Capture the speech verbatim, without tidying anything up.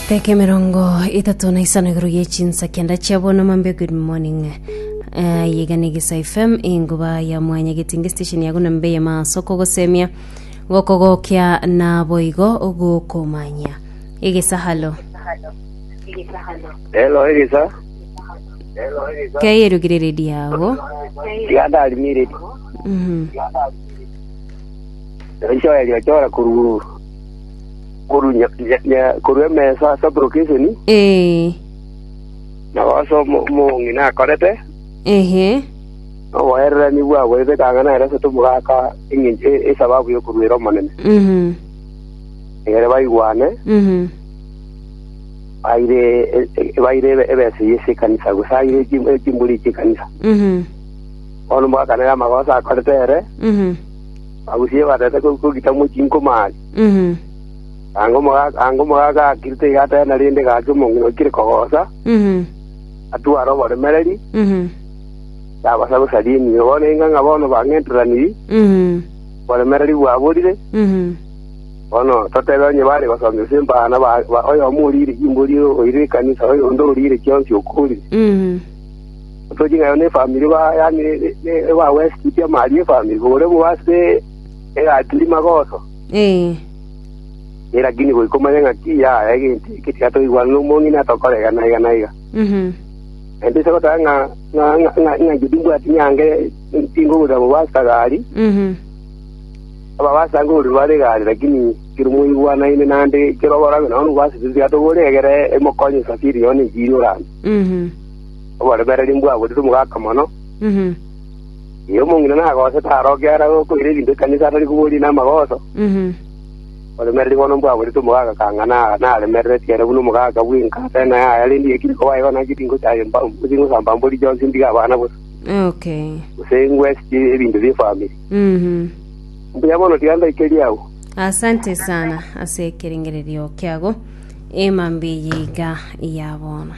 Teka emerongo etato na isano igoro ye chinsa kenda chia bono mambe good morning uh, yegane gisa fm enguba ya mwanya getinge station yago na mbe ya masoko gosemia gokogokia na boigo gokomanya egesa halo Hello, Elisa. keyerugire redi yago Tiganda alimire. Mhm. Ncho ya chora kuru kuru nya, nya, nya kuru emesa sublocation eh na waso mo ngina korete ehe owerera ni bwa bwebe kangana era se tumugaka ingi esababu yo kurwira monene mhm egere baigwane mhm aire baire ebese yese kanisa gusa aire chimbuli chikanisa mhm ono mugaka nera magosa akorete ere mhm agusie batete kugita muchinko mali mhm ango mugaka ango mugaka akirite igata na rinde gake omong'ina okire kogosa mhm atwara oboremereri mhm yabasa gosaria emiyo bono enga ng'a bono bang'enteraniri mhm oboremereri bwaborire mhm bono totebe onye bare gosomia ase embana ba- ba- oyomo orire chimbori oire ekanisa oyonde orire chionsi okorire mhm toching'ayo na efamiri ba yani bawesiti amari efamiri bore bwase egatiri magoso eh Eh, lakini goikomanya ng'aki yaya egento eke tigatoigwana na omong'ina tokoregana iga na iga mhm ende ase goteba ng'a ng'a ng'a ng'a ng'a inche timbwati nyange tingogorera mobasa gari mhm ababasa ngogorera bare gari lakini kero moigwanaine naende kero oborabe nabo nobasete tigatogore egere emokonye safiri yone enchiri orande mhm oboremereri mbwaborire omogaka mono mhm iyo omong'ina nagosete arokera gokoira ebinto ekanisa atari koboria na amagoso mhm oremereri bono mbwaborete omogaka kang'a na- naremereretie ere buna omogaka bwenka tena yaya rende ekire koba naki tingochaye tingosamba mbori chionsi ntiga abana bosa okay gose ngwesitie ebinto bia efamiri mhm mbuya bono tiga ndaikeria abwo asante sana ase ekerengererio kiago emambi yiga ya bono.